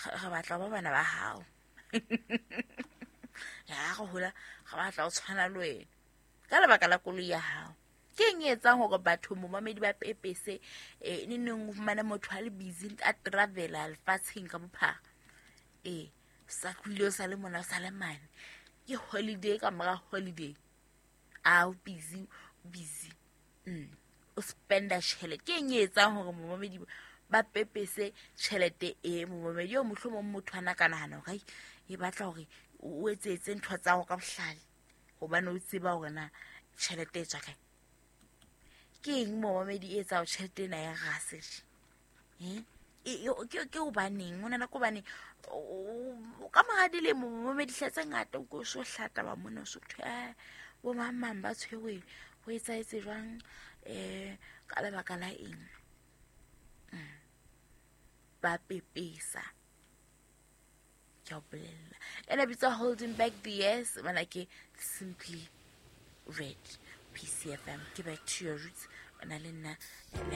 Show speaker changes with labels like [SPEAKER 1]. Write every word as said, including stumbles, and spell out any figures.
[SPEAKER 1] Re batla ba bana ba hao. Ya re hola re batla ho tshwana le wena ka lebaka la koloi ya hao. Ke eng e etsang hore batho momamedi ba pepese eh ne neng o fumane motho a le busy a travela lefatsheng ka bophara, e sa tlohile o sa le mona o sa le mane, ke holiday ka mora holiday, a o busy busy mm o spenda tjhelete. Ke eng e etsang hore momamedi ba pepese tjhelete e momamedi eo mohlomong motho ana ka nahana hore e batla hore o etsetse ntho tsa hao ka bohlale hobane o tseba hore na tjhelete e tswa kae? Ke eng momamedi e etsang tjhelete ena ya rase? Eh ke ke hobaneng o nana ke hobane ka mora dilemo momamedi hle tse ngata o ko so hlata ba mona so thwe eh bo mang mang ba tshwerwe ho etsahetse jwang eh ka lebaka la eng ba pepesa. Ke a o bolella ena bitswa Holding Back the Years, bana ke Simply Red, P C F M. Ke back to your roots, ona le nna.